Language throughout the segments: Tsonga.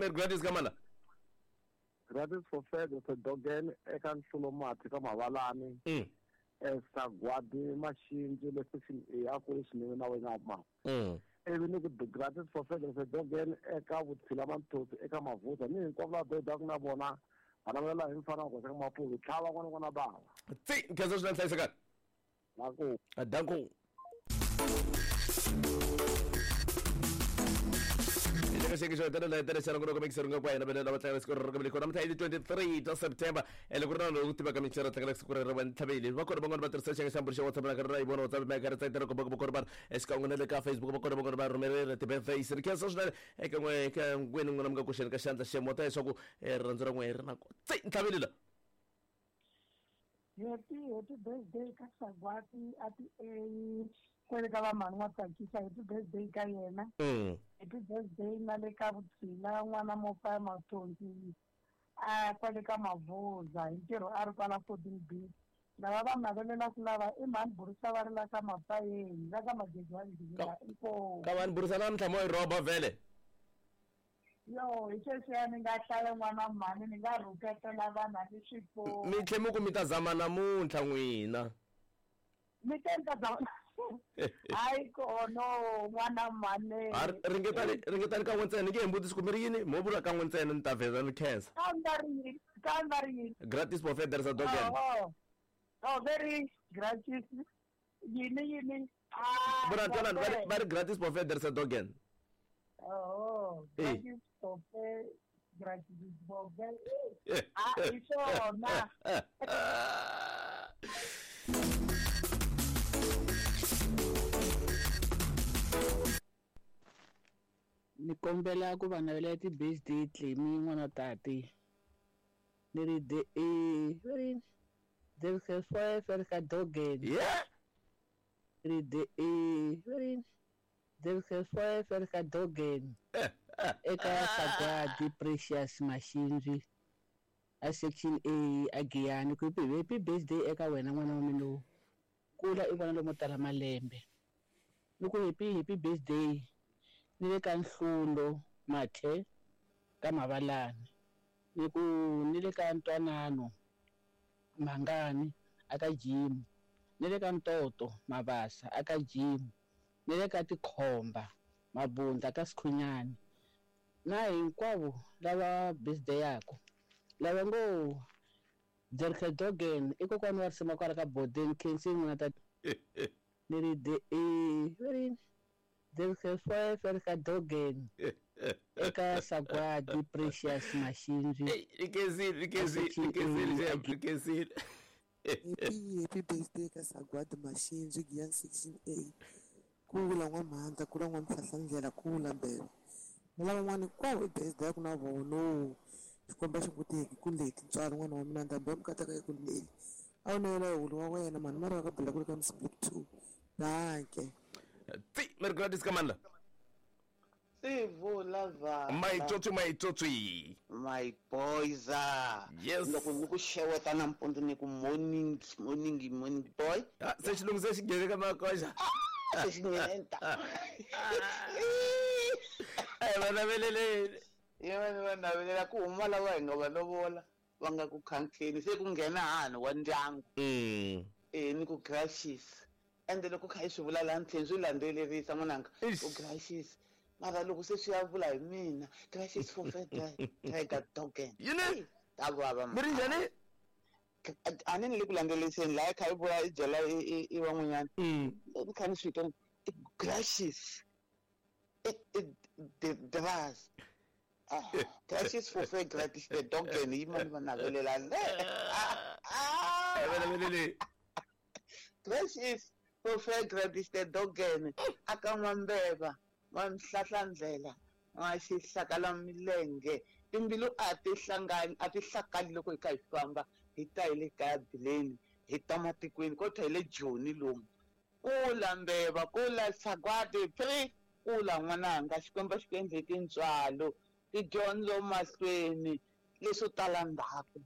Merry Gladys ka mana. Gratis for Fed for Dogen eka Nhlulo Mati ka Mavalani. Sagwadi Maxindzi le section A a ku ri swinene na wena ma. Ivi ni ku Gratis for Fed for Dogen eka Vutshila Manthotsi eka Mavuza ni hinkwavo lava bedaku na vona va navelela hi mfana wa koxa ka Mapuzu tlhava n'wana n'wana bava. Tsi, nkhensa swinene hlayisekani. Danko. Danko. Leka xiyenge xo hetelela hetelela loko loko mixer nga kwa hina vele lava tlangela siku rero ka namuntlha i ti 23 ta September ene ku ri na lowu tivaka mixer tlangela siku rero va ntlhaveli va kona van'wana va tirhisa xiyenge xa mbulu xa WhatsApp na karhi ra yi vona WhatsApp ma karhi tsakela komba ku kona va exikan'we na le ka Facebook va kona van'wana va rhumelela ti-birthdays ri khensa swinene eka n'we eka n'wini n'wina mi nga koxeni ka xandla xemota leswaku rirhandzu ra n'we ri na tsi ntlhaveli la. Happy happy birthday ka Sagwati a ti A kwele ka va mhani wa tsakisa happy birthday ka yena. Happy birthday na le ka Vutshila n'wana Mofaya Mathonsi a kwale ka Mavuza hi ntirho a ri kwala 14 B. Lava va navelelaka lava i mhani Burisa va ri la ka Mapayeni la ka Magegwani Dibila inkomu. Ka mhani Burisa namuntlha mo yi rhoba vhele. Yo, hi sweswiya ni nga hlaya n'wana mhani ni nga rhuketela vanhu a ni swi koti. Mi tlhe mi ku mi ta zama namuntlha n'wina. Mi te ni ta zama hayi kono n'wana mhani. Ha ringetani ringetani kan'we ntsena ni nge hembutisi ku mi ri yini mo vula kan'we ntsena ni ta vheza ni khensa. Kambe ri yini? Kambe ri yini? Gratis for Federer sa Dogen. Oh, oh, very gratis. Yini yini? Ah, Vona twanani va ri va ri gratis for Federer sa Dogen. Oh, Eh. gratis for gratis for Ah, hi swona. Ni kombela ku va navela ti-birthday Clemy n'wana tati ni ri de e va ri yini ka Dogen Yeah. ri de e va ri yini ka Dogen eka Sagwadi Precious Maxindzi a section A a Giyani ku happy birthday eka wena n'wana wa mina lowu kula i vona lomo tala malembe ni ku happy happy birthday ni le ka Nhlulo Mathe ka Mavalani ni ku ni le ka Ntwanano Mhangani aka Jim ni le ka Ntoto Mabasa aka Jim ni le ka Tikhomba Mabunda ka Sikhunyani na hinkwavo lava birthday yako lava ngo Jerke Dogen i kokwana wa risima kwala ka Bodeni Khensi n'wana ta ni ri de e va ri yini Jerke ka Dogen eka Sagwadi Precious Maxindzi Rikezile, rikezile, rikezile, rikezile. Happy happy birthday ka Sagwadi Maxindzi Giyani section A. Kula n'wa Mhanda, kula n'wa Mhlahlandlela, kula Mbeva. Na lavan'wana hinkwavo i birthday ya ku na vona. Xikwembu a xi ku teki ku leti ntswalo n'wana wa mina ndhambi ya mukataka yi ku leli. A wu navela hulu wa wena mhani mara ka bula ku ri ka Msiblik 2. Danke. Tsi, Merry Gladys Kamanda. Sivula vana. My tsotsi, my tsotsi. My boys. Yes. Loko ni ku xeweta nampundzu ni ku morning, morning, morning boy. Ah, se xilungu se xi nghene ka makoxa. Se xi nghena. Ai va naveleleni. Ye va navelela ku huma lava hi nga va lovola va nga ku khankheni se ku nghena hani wa ndyangu. Ni ku gracious. Ende loko kha hi swi vula laha ntlheni swi landzelerisa n'wananga. Ku gracious. Mara loko se swi ya vula hi mina gracious for Tiger Dogen. Yini? Ta vava. Mi ri njhani? A ni le ku landzeleriseni laha kha i vula i byela i van'wanyana. Ni kha ni swi twa gracious. The dras. Gracious for fair gratis the Dogen yi mani va navelela le. Naveleleni. Gracious for fair gratis the Dogen aka n'wa Mbeva wa Mhlahlandlela wa xihlakala milenge timbilu a ti hlangani a ti hlakali loko hi kha hi famba hi ta hi le kaya bileni hi ta matikweni kodwa hi le Joni lomu kula Mbeva kula Sagwadi pre kula n'wananga Xikwembu xi ku endle tintswalo tidyondzo mahlweni leswo tala ndzhaku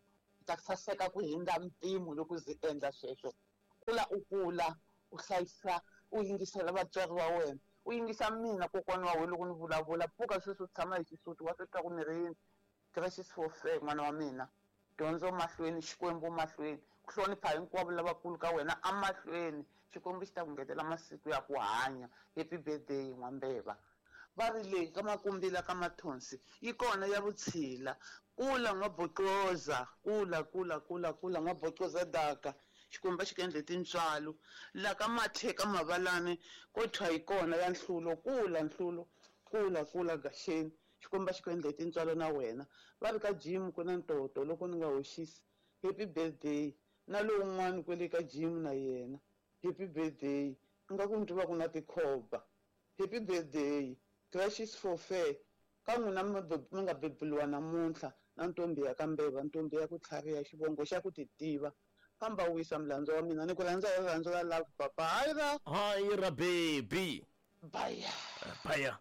ta saseka ku hindza mpimo loko ndzi endla sweswo kula u kula u hlayisa u yingisela vatswari va wena U yingisa mina kokwana wa wena loko ni vulavula. Pfuka sweswi u tshama hi xisuti wa swi twa ku ni ri yini. Gracious for fair n'wana wa mina. Dyondzo mahlweni, Xikwembu mahlweni. Ku hlonipha hinkwavo lavakulu ka wena amahlweni. Xikwembu xi ta ku ngetela masiku ya ku hanya. Happy birthday N'wambeva. Va ri le ka Makumbila ka Mathonsi yi kona ya vutshila. Kula N'waboxoza, kula kula kula kula N'waboxoza daka. Xikwembu a xi ku endle tintswalo. La ka Mathe ka Mavalani ko thwa yi kona ya Nhlulo, kula Nhlulo, kula kula Gaxeni. Xikwembu a xi ku endle tintswalo na wena. Va ri ka Jim ku na ntoto loko ni nga hoxisi. Happy birthday. Na lowun'wani kwele ka Jim na yena. Happy birthday. Ingaku ni twa ku na tikhoba. Happy birthday. Gracious for fair. Ka n'wina mi nga beburiwa namuntlha na ntombi ya ka Mbeva, ntombi ya ku tlhariha, xivongo xa ku ti tiva. Famba u wisa mulandzu wa mina. Ni ku rhandza hi rirhandzu ra love papa. Hayi ra. Hayi ra baby. Baya. Baya.